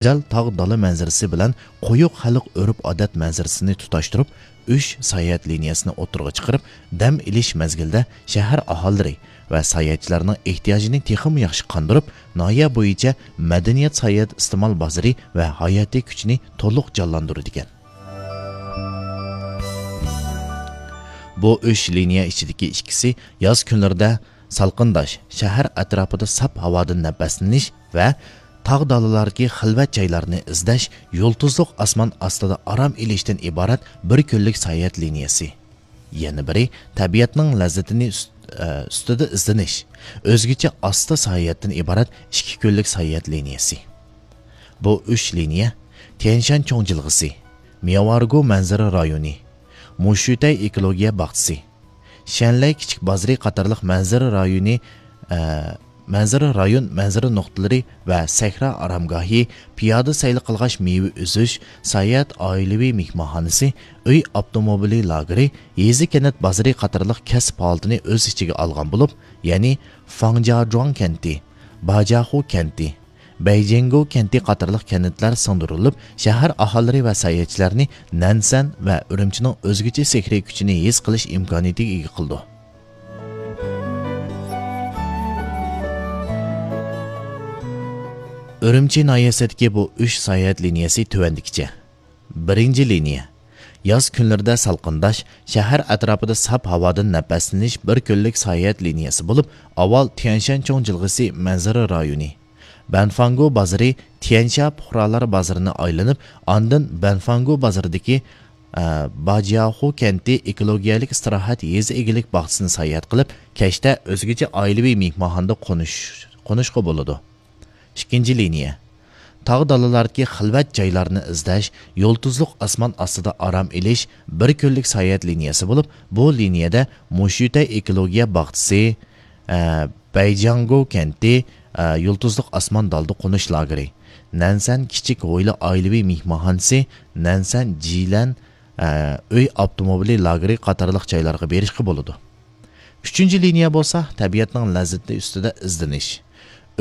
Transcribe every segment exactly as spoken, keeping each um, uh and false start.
گۈزەل تاغ دالا مەنزىرىسى بىلەن قويۇق خەلق ئۆرپ-ئادەت مەنزىرىسىنى تۇتاشتۇرۇپ، ئۈچ ساياھەت لىنىيەسىنى ئوتتۇرىغا چىقىرىپ، دەم ئېلىش مەزگىلىدە شەھەر ئاھالىلىرى ۋە ساياھەتچىلەرنىڭ ئېھتىياجىنى تېخىمۇ ياخشى قاندۇرۇپ، ناھىيە بويىچە مەدەنىيەت ساياھەت ئىستېمال بازىرى ۋە ھاياتىي كۈچىنى تولۇق جانلاندۇرىدىكەن. بۇ ئۈچ لىنىيە ئىچىدىكى ئىككىسى ياز كۈنلىرىدە سالقىنداش، شەھەر ئەتراپىدا ساپ ھاۋادىن نەپەسلىنىش ۋە تاغ دالىلاردىكى خىلۋەت جايلارنى ئىزدەش، يۇلتۇزلۇق ئاسمان ئاستىدا ئارام ئېلىشتىن ئىبارەت بىر كۈنلۈك ساياھەت لىنىيەسى. يەنە بىرى، تەبىئەتنىڭ لەززىتىنى ئۈست-، ئە، ئۈستىدە ئىزدىنىش، ئۆزگىچە ئاستا ساياھەتتىن ئىبارەت ئىككى كۈنلۈك ساياھەت لىنىيەسى. بۇ ئۈچ لىنىيە تيەنشان چوڭ جىلغىسى، مياۋئارگو مەنزىرە رايونى، مۇشۈتەي ئېكولوگىيە باغچىسى، شەنلەي كىچىك بازىرى قاتارلىق مەنزىرە رايونى، ئە، مەنزىرە رايون مەنزىرە نۇقتىلىرى ۋە سەھرا ئارامگاھى، پىيادە سەيلە قىلغاچ مېۋە ئۈزۈش، ساياھەت ئائىلىۋى مېھمانخانىسى، ئۆي ئاپتوموبىلى لاگېرى، يېزا كەنت بازىرى قاتارلىق كەسىپ ھالىتىنى ئۆز ئىچىگە ئالغان بولۇپ، يەنى فاڭجاجۇاڭ كەنتى، باجياخۇ كەنتى، بەيجىڭگو كەنتى قاتارلىق كەنتلەر سىڭدۈرۈلۈپ، شەھەر ئاھالىلىرى ۋە ساياھەتچىلەرنى نەنسەن ۋە ئۈرۈمچىنىڭ ئۆزگىچە سېھرىي كۈچىنى ھېس قىلىش ئىمكانىيىتىگە ئىگە قىلىدۇ. ئۈرۈمچى ناھىيەسىدىكى بۇ ئۈچ ساياھەت لىنىيەسى تۆۋەندىكىچە. بىرىنچى لىنىيە. ياز كۈنلىرىدە سالقىنداش، شەھەر ئەتراپىدا ساپ ھاۋادىن نەپەسلىنىش بىر كۈنلۈك ساياھەت لىنىيەسى بولۇپ، ئاۋۋال تيەنشان چوڭ جىلغىسى مەنزىرە رايونى، بەنفاڭگو بازىرى، تيەنشا پۇقرالار بازىرىنى ئايلىنىپ، ئاندىن بەنفاڭگو بازىرىدىكى، ئە، باجياخۇ كەنتى ئېكولوگىيەلىك ئىستىراھەت يېزا ئىگىلىك باغچىسىنى ساياھەت قىلىپ، كەچتە ئۆزگىچە ئائىلىۋى مېھمانخانىدا قونۇش-، قونۇشقا بولىدۇ. ئىككىنچى لىنىيە. تاغ دالىلاردىكى خىلۋەت جايلارنى ئىزدەش، يۇلتۇزلۇق ئاسمان ئاستىدا ئارام ئېلىش بىر كۈنلۈك ساياھەت لىنىيەسى بولۇپ، بۇ لىنىيەدە مۇشۈتەي ئېكولوگىيە باغچىسى، ئە، بەيجاڭگو كەنتى، ئە، يۇلتۇزلۇق ئاسمان دالدا قونۇش لاگېرى، نەنسەن كىچىك ھويلا ئائىلىۋى مېھمانخانىسى، نەنسەن جىلەن، ئە، ئۆي ئاپتوموبىلى لاگېرى قاتارلىق جايلارغا بېرىشقا بولىدۇ. ئۈچىنچى لىنىيە بولسا تەبىئەتنىڭ لەززىتى ئۈستىدە ئىزدىنىش.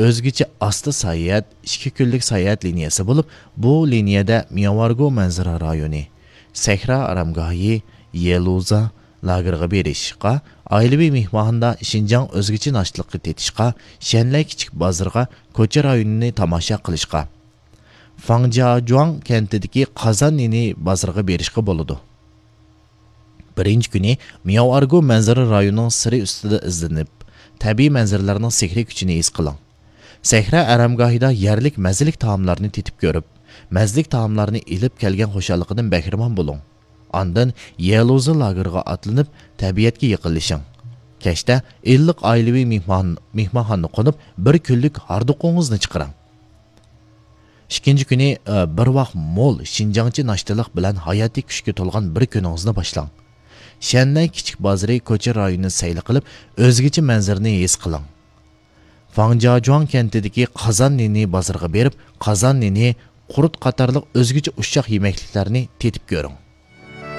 ئۆزگىچە ئاستا ساياھەت، ئىككى كۈنلۈك ساياھەت لىنىيەسى بولۇپ، بۇ لىنىيەدە مياۋارگو مەنزىرە رايونى، سەھرا ئارامگاھى، يېلۇزا لاگېرىغا بېرىشقا، ئائىلىۋى مېھمانخانىدا شىنجاڭ ئۆزگىچە ناشتىلىقى تېتىشقا، شەنلەي كىچىك بازىرىغا، كوچا رايونىنى تاماشا قىلىشقا، فاڭجاجۇاڭ كەنتىدىكى قازان نېنى بازىرىغا بېرىشقا بولىدۇ. بىرىنچى كۈنى مياۋئارگو مەنزىرە رايونىنىڭ سىرى ئۈستىدە ئىزدىنىپ، تەبىئىي مەنزىرىلەرنىڭ سېھرىي كۈچىنى ھېس قىلىڭ. سەھرا ئارامگاھىدا يەرلىك مەززىلىك تائاملارنى تېتىپ كۆرۈپ، مەززىلىك تائاملارنى ئېلىپ كەلگەن خۇشاللىقىدىن بەھرىمەن بولۇڭ. ئاندىن يېلۇزا لاگېرىغا ئاتلىنىپ، تەبىئەتكە يېقىنلىشىڭ. كەچتە ئىللىق ئائىلىۋى مېھمان-، مېھمانخانىدا قونۇپ، بىر كۈنلۈك ھاردۇقىڭىزنى چىقىرىڭ. ئىككىنچى كۈنى، ئە، بىر ۋاق مول شىنجاڭچە ناشتىلىق بىلەن ھاياتىي كۈچكە تولغان بىر كۈنىڭىزنى باشلاڭ. شەننەي كىچىك بازىرى كوچا رايونىنى سەيلە قىلىپ، ئۆزگىچە مەنزىرىنى ھېس قىلىڭ. فاڭجاجۇاڭ كەنتىدىكى قازان نېنى بازىرىغا بېرىپ، قازان نېنى، قۇرۇت قاتارلىق ئۆزگىچە ئۇششاق يېمەكلىكلەرنى تېتىپ كۆرۈڭ.